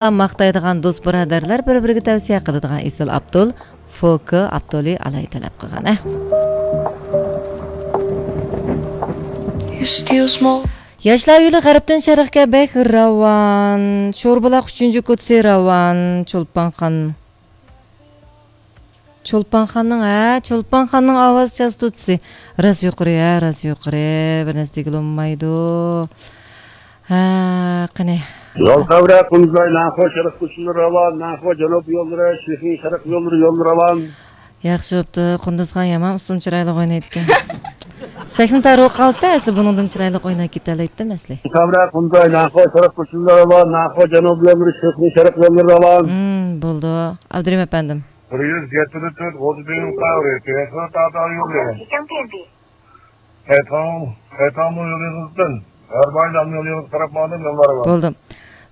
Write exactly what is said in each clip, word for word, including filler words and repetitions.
ماختايدىغان دوست بۇرادەرلەر، بىر-بىرىگە تەۋسىيە قىلىدىغان ئېسىل ئابدۇل، فوكى ئابدۇلى ئالاي تەلەپ قىلغان، ھە. ياشلار يولى غەربتىن شەرققە بەك راۋان. شوربۇلاق ئۈچىنچى كوتىسى راۋان. چولپانخان. چولپانخاننىڭ، ھە، چولپانخاننىڭ ئاۋاز چاستوتىسى راست يۇقىرى، ھە، راست يۇقىرى. بىر نەرسە دېگىلى بولمايدۇ. ھە، قېنى. يول خەۋىرى قۇمزاي، نانخۇا شەرق كوچىلىرى راۋان، نانخۇا جەنۇب يوللىرى، شىخىڭ شەرق يوللىرى، يوللىرى راۋان. ياخشى بوپتۇ، قۇندۇزخان يامان ئۇسسۇلنى چىرايلىق ئوينايدىكەن. سەھنە تار بولۇپ قالدى، ئەسلى بۇنىڭدىن چىرايلىق ئويناپ كېتەلەيتتىم ئەسلى. خەۋىرى قۇمزاي، نانخۇا شەرق كوچىلىرى راۋان، نانخۇا جەنۇب يوللىرى، شىخىڭ شەرق يوللىرى راۋان. ھىم، بولدى. ئابدۇرېھىم ئەپەندىم. بىر يۈز يەتتە تۆت غوجىدىن قەۋرى، تېخى تاتا يولى. تەيتاڭ، تەيتاڭمۇ يولىڭىزدىن، ھەر بايلام يولىڭىز قاراپ ماڭدىم يوللار بار. بولدى.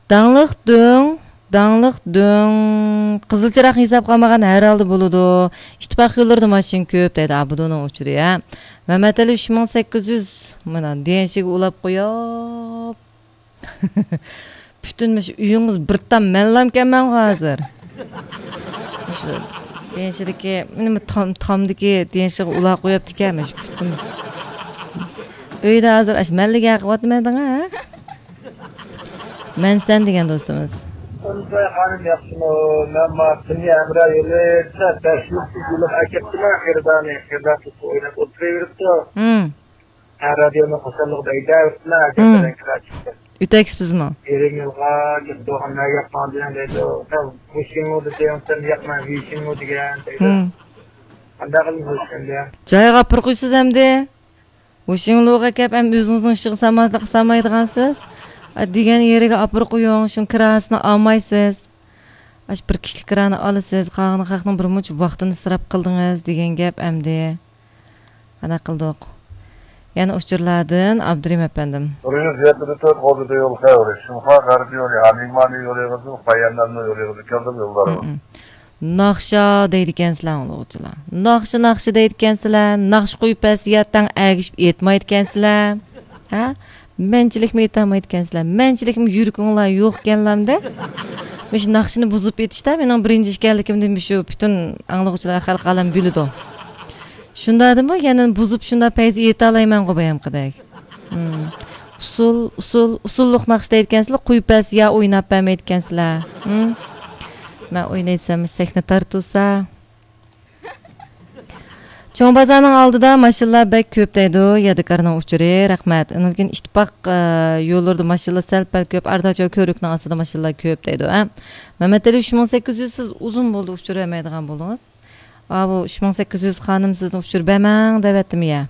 داڭلىق دۆڭ، داڭلىق دۆڭ. قىزىل چىراغ ھېسابقا ئالمىغان ھەر ھالدا بولىدۇ. ئىتتىپاق يوللىرىدا ماشىنا كۆپ دەيدۇ. ئابۇدۇنىڭ ئۇچۇرى، ھە. مەمەتئەلى ئۈچ مىڭ سەككىز يۈز، مانا، دېيەنشىگە ئۇلاپ قويۇپ. پۈتۈن مۇشۇ ئۆيىڭىز بىر تام مەنلامكەنمەنغۇ ھازىر. مۇشۇ دېيەنشىدىكى، مانا تام، تامدىكى دېيەنشىغا ئۇلاپ قويۇپتىكەن مۇشۇ پۈتۈن. ئۆيدە ھازىر ئاشۇ مەنلىگە قىلىۋاتىمەن دەڭە، ھە؟ مەنسەن دېگەن دوستىمىز. ئۇنىساي خانىم ياخشىمۇ؟ مەن ما تۇنيا ھەمراھ يولىدا بەش يىل يولۇق ئەكەپتىمەن، خېرىدارنى، خېرىدار تۇتۇپ ئويناپ ئولتۇرۇۋېرىپتۇ. ھىم. ھە، رادىيونىڭ خۇشاللىقىدا ئېيتىۋېرىپتىمەن، ھىم. ئەكەپتىمەن كىرا چىقتى. ئۆتەكسىزمۇ؟ يېرىم يىلغا كېلىپ تۇرغان مەن ياقماڭ دېگەن دەيدۇ. سەن ۋۇشىڭلۇ دېسەڭ، سەن ياقماڭ ۋىشىڭلۇ دېگەن دەيدۇ. ھىم. قانداق قىلىمىز ئەمدى؟ جايىغا ئاپىرىپ قويسىز ئەمدى. ۋۇشىڭلۇغا كەپ، ئەم ئۆزىڭىزنىڭ ئىشىغا سالماي-، سالمايدىغانسىز. ئا، دېگەن يېرىگە ئاپىرىپ قويۇڭ، شۇنىڭ كىراسىنى ئالمايسىز. ئاشۇ بىر كىشىلىك كىرانى ئالىسىز، قالغىنى خەقنىڭ بىر مۇنچە ۋاقتىنى ئىسراپ قىلدىڭىز دېگەن گەپ ئەمدى. قانداق قىلدۇق؟ يەنە ئۇچۇرلاردىن ئابدۇرېھىم ئەپەندىم. بىر يۈز يەتتە تۆت غوجىدا يول خەۋىرى. شىنخۇا غەربىي يولى، ھەمىڭمانى يولىغىزدىن، خۇيەننەنمۇ يولىغىزدىن كەلدىم يوللارغا. ھىم. ناخشا دەيدىكەنسىلەر ئاڭلىغۇچىلار. ناخشا، ناخشا دەيدىكەنسىلەر. ناخشا قويۇپ بەرسە ياتاڭ ئەگىشىپ ئېيتمايدىكەنسىلەر. ھە؟ مەنچىلىكمۇ ئېيتالمايدىكەنسىلەر. مەنچىلىكمۇ يۈرىكىڭلار يوقكەنلامدە؟ مۇشۇ ناخشىنى بۇزۇپ ئېيتىشتا مېنىڭ بىرىنچى ئىكەنلىكىمنى مۇشۇ پۈتۈن ئاڭلىغۇچىلار، خەلق ئالەم بىلىدۇ. شۇنداقتىمۇ يەنە بۇزۇپ شۇنداق پەيزى ئېيتالايمەنغۇ بايامقىدەك. ھىم. ئۇسسۇل، ئۇسسۇل، ئۇسسۇللۇق ناخشا دەيدىكەنسىلەر، قويۇپ بەرسە يا ئويناپ بەرمەيدىكەنسىلەر. ھىم. مەن ئوينايسەن، سەھنە تارتىلسا. چوڭ بازارنىڭ ئالدىدا ماشىنىلار بەك كۆپ دەيدۇ، يادىكارنىڭ ئۇچۇرى، رەھمەت. ئۇنىڭدىن كېيىن ئىتتىپاق، ئە، يوللىرىدا ماشىنىلار سەل-پەل كۆپ، ئارىداچۇ كۆۋرۈكنىڭ ئاستىدا ماشىنىلار كۆپ دەيدۇ، ھە. مەمەتئېلى ئۈچ مىڭ سەككىز يۈز، سىز ئۇزۇن بولدى ئۇچۇر بەرمەيدىغان بولدىڭىز. ئاۋۇ ئۈچ مىڭ سەككىز يۈز خانىم سىزنى ئۇچۇر بەرمەڭ دەۋەتتىمۇ يا؟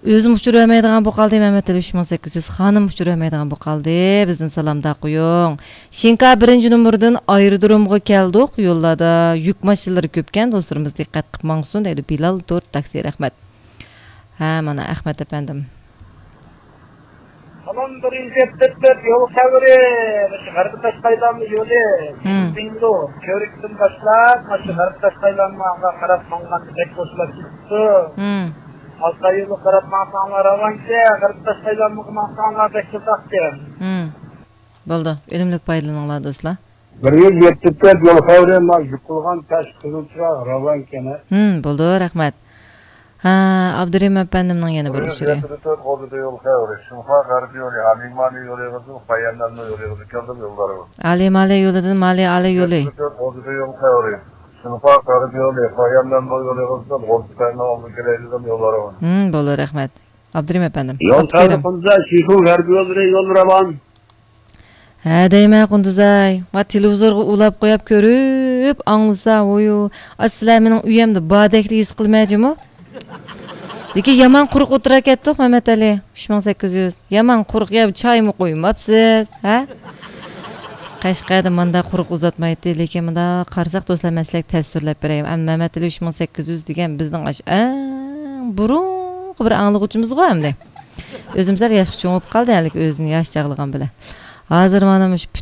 ئۆزۈم ئۇچۇر بەرمەيدىغان بولۇپ قالدى، مەمەتئېلى ئۈچ مىڭ سەككىز يۈز خانىم ئۇچۇر بەرمەيدىغان بولۇپ قالدى. بىزدىن سالامدا قويۇڭ. شىنكا بىرىنچى نومۇردىن ئايرودرومغا كەلدۇق. يوللاردا يۈك ماشىنىلىرى كۆپكەن، دوستلىرىمىز دىققەت قىلىپ ماڭسۇن دەيدۇ بىلال تورت تاكسى، رەھمەت. ھە، مانا ئەخمەت ئەپەندىم. سالام، بىر يۈز يەتتە تۆت يول خەۋىرى. مۇشۇ غەربىي تاشقايلانما يولى. ھىم. بىڭدۇ، كۆۋرۈكتىن باشلاپ، مۇشۇ غەربىي تاشقايلانماغا قاراپ ماڭغاندا بەك بوشلاپ كېتىپتۇ. ھىم. ئالتاي يولىغا قاراپ ماڭساڭلار راۋانكەن، غەربىي تاشقايلانمىغا ماڭساڭلار بەك ئۇزاقكەن. ھىم. بولدى، ئۈنۈملۈك پايدىلىنىڭلار دوستلار. بىر يۈز يەتتە تۆت يول خەۋىرى، ما يۈك قىلغان تاش قىزىل چىراغ راۋانكەن، ھە؟ ھىم، بولدى، رەھمەت. ھە، ئابدۇرېھىم ئەپەندىمنىڭ يەنە بىر ئۇچۇرى. بىر يۈز يەتتە تۆت غوجىدا يول خەۋىرى. شىنخۇا غەربىي يولى، ھەمىڭمانى يولىغىزدىن، خۇيەننەنمۇ يولىغىزدىن كەلدىم يوللارغا. ئالىمالى يولىدىن مالى ئالى يولى. يەتتە تۆت غوجىدا يول خەۋىرى. شىنخۇا غەربىي يولى، خۇيەننەن بۇ يولىغىزدىن غوجىتەننىڭ ئالدىغا كېلەيدىغان يوللارغا. ھىم، بولدى، رەھمەت. ئابدۇرېھىم ئەپەندىم. يول ئابدۇكېرىم. خەۋىرى قۇمزا، شىخۇ غەربىي يوللىرى يول راۋان. ھە دەيمەن، قۇندۇزاي. ما تېلېۋىزورغا ئۇلاپ قويۇپ كۆرۈپ ئاڭلىسا، ۋويۇ. ئا، سىلەر مېنىڭ ئۆيەمدە باردەكلا ھېس قىلمە جۇمۇ. لېكىن يامان قۇرۇق ئولتۇرا كەتتۇق، مەمەتئەلى. ئۈچ مىڭ سەككىز يۈز. يامان قۇرۇق، يا چايمۇ قۇيماپسىز، ھە؟ قەشقەردە مانداق قۇرۇق ئۇزاتمايتتى، لېكىن مۇنداق قارىساق، دوستلار، مەن سىلەرگە تەسۋىرلەپ بېرەي. ئەمدى مەمەتئېلى ئۈچ مىڭ سەككىز يۈز دېگەن بىزنىڭ ئاشۇ ئەڭ بۇرۇنقى بىر ئاڭلىغۇچىمىزغۇ ئەمدى. ئۆزىمۇ سەل ياشقا چوڭىيىپ قالدى، ھېلىقى ئۆزىنى ياش چاغلىغان بىلەن. ھازىر مانا مۇشۇ